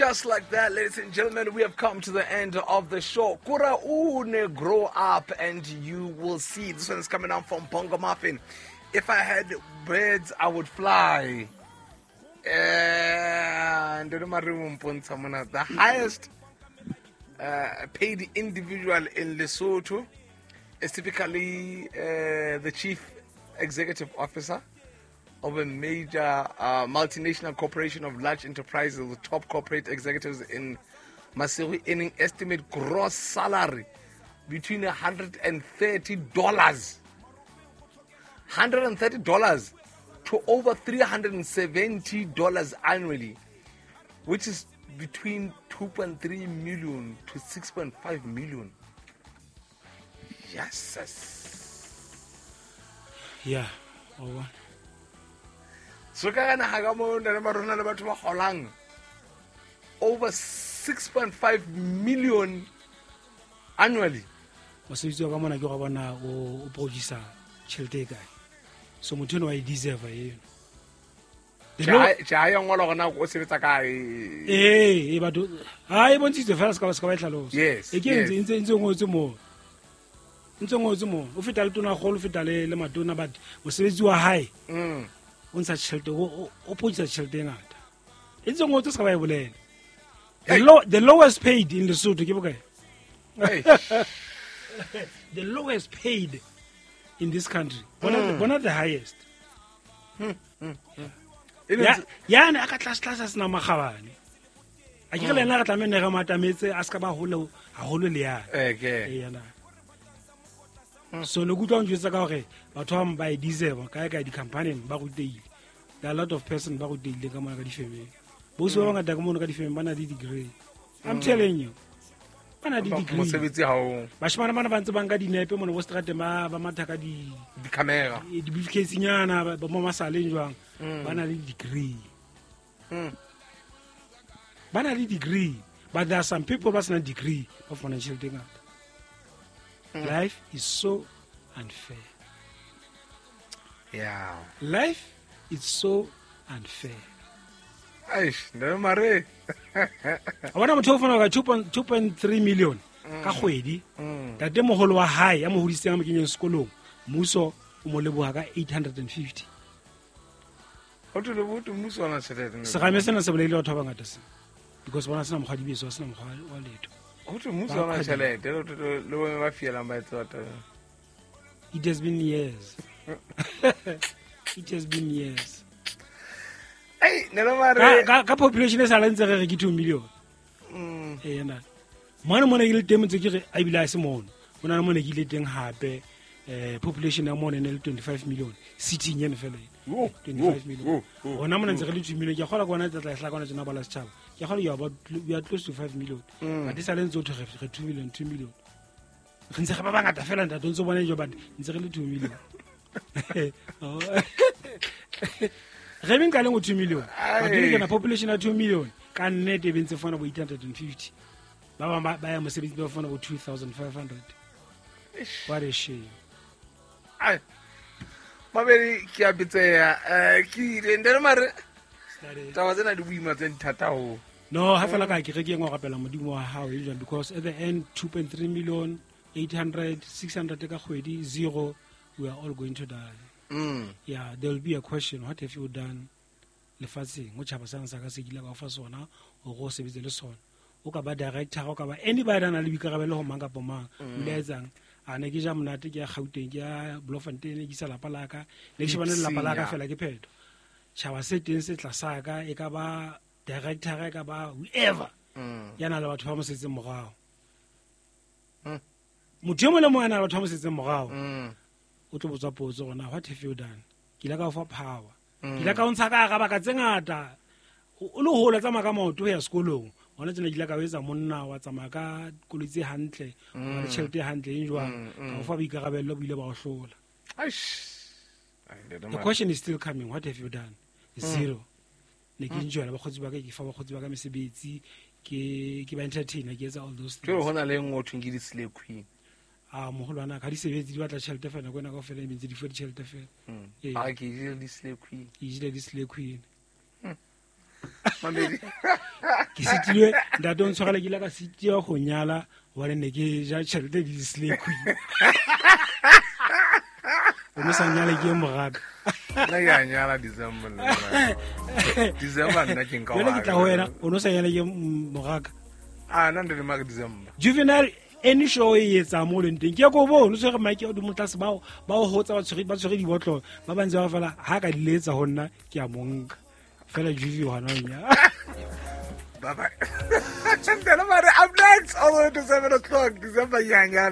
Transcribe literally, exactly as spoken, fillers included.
Just like that, ladies and gentlemen, we have come to the end of the show. Kura une, grow up and you will see. This one is coming out from Bongo Muffin. If I had birds, I would fly. And the highest uh, paid individual in Lesotho is typically uh, the chief executive officer of a major uh, multinational corporation of large enterprises with top corporate executives in Maseru earning estimate gross salary between a hundred and thirty dollars, hundred and thirty dollars to over three hundred and seventy dollars annually, which is between two point three million to six point five million. Yes. Yeah. Over. So ka naha ka mo nna le marona le batho ba holang over six point five million annually. Mosebetsi wa ka mona ke go bona o o producer tjhelete e kae. So motho eno wa e deserve eno. Tjhe, ya ngola gona o sebetsa kae? Eh, e batho ha e bontshitse fela se ka ba se ka ba e hlalosa. Yes. E ke ntse ntse ntse ngotse mo. Ntse ngotse mo. O feta le tona kgolo, o feta le le matona, but mosebetsi wa hae. Mm. O ntsha tjhelete, o o producer tjhelete e ngata. E ntse ngotse se ka ba e bolela. The low, the lowest paid in Lesotho ke bokae? Hey. The lowest paid in this country. Bona mm. the, bona the highest. Mm. Mm. Ya ya ne a ka tlase tlase a sena makgabane. A ke re le yena re tlameha ne re matametse a ska ba hole haholo le yana. Okay. E yana. So ne kutlwa njwetsa ka hore batho ba bang ba e deserve kae kae di-company ba rutehile. There are a lot of person ba rutehile ka mona ka difemeng. Bosi ba bangata ka mona ka difemeng ba na le degree. I'm mm. telling you. Ba na le degree. Mosebetsi ha o. Bashimane bana ba ntse ba nka dinepe mona bo strateng ba ba matha ka di di-camera. Di-briefcase nyana ba mo masaleng jwang. Mm. Ba na le degree. Mm. Ba na le degree, but there are some people ba sena degree ba fumana tjhelete e ngata. Mm. Life is so unfair. Yeah. Life is so unfair. Eish, no mare. A bona motho o fana ka two point three million ka kgwedi. Tate moholo wa hae ya mo hodisitseng a mo kenyeng sekolong, mmuso o mo leboha ka eight hundred and fifty. Ho thwe le botho mmuso ona tjhelete. Serame sena se bolaile batho ba bangata se. Because bona sena mokgwa dibeso, sena mokgwa wa letho. Ho thwe mmuso ona tjhelete, le bo ba fielang ba etsa batho. It has been years. It has been years. Hey, nelo mare. Ka ka population e sa le ntse re re ke two million. Mm. Eh yena. Mona mona ke le teng ntse ke re a bile a se mono. Ona le mona ke ile teng hape eh population ya mona ne le twenty-five million. City nyane fela. twenty-five million. Ona mona ntse re le two million. Ke kgola kona tla tla hla kona tsena bala setjhaba. Ke kgola you are about we are close to five million. But e sa le ntse o thwe re two million, two million. Re ntse re ba bangata fela ntate o ntse bona jo but ntse re le two million. Re beng ka leng two million. But ke na population ya two million ka nnete e bentse fana bo eight hundred and fifty. Ba bang ba ya mosebetsi ba fana bo two thousand five hundred. What a shame. Ai. Mabedi ke a bitseya eh ke ile ndere mare. Taba tsena di boima tse thata ho. No, ha fela ka ke re ke engwe rapela modimo wa hao e jwang because at the end two point three million, eight hundred, six hundred ka kgwedi zero, we are all going to die. Mm. Yeah, there will be a question, what have you done lefatsheng o tjhaba sana sa ka se kile ka fa sona o go sebetse le sona o ka ba director o ka ba anybody ana le boikarabelo ho mang kapa mang o ile etsang a ne ke ja monate ke ya Gauteng ke ya Bloemfontein ke isa lapa la ka ne ke shebane le lapa la ka fela ke phetho tjhaba se teng se tlasa ka e ka ba director e ka ba whoever ya na le batho ba mo setseng morao motho e mong le mong a na le batho ba mo setseng morao o tlo botsa potso gona what have you done ke ile ka o fa power ke ile ka o ntsha ka hara baka tse ngata o le hola tsamaya ka maoto ho ya sekolong hona tsena ke ile ka o etsa monna wa tsamaya ka koloi tse hantle wa le tjhelete e hantle e jwang ka o fa boikarabello bo ile ba o hlola. The question is still coming, what have you done? Zero. Ne ke enjoy bakgotsi ba ka ke fa bakgotsi ba ka mesebetsi ke ke ba entertainer ke etsa all those things. Ke hona le nngwe o thweng ke di-slay queen. Ah moholwana ka di sebetse di batla tjhelete fela nako ena kaofela e mentse di fuwe ditjhelete fela. Ah ke jele di-slay queen. Ke jele di-slay queen. Mamedi. Ke sitilwe ntate o ntshwarele ke ile ka sitiwa go nyala hobane ne ke ja tjhelete le di-slay queen. O no sa nyale ke e moraka. Nna ke a nyala December le nna. December nna ke nka Jwale ke tla ho wa wena o no sa nyale ke moraka. Ah, nna ndi ma December. Juvenile any show e etsang mo leng teng ke ko bone o tshwere mic ya hodimo tlase bao ba o hotsa ba tshwere ba tshwere dibotlolo ba ba ntse ba fela ha ka di letsa ho nna ke a mo nka fela Juve hona o nya. Bye bye. Up next, all the way to seven o'clock. December, yeah, yeah,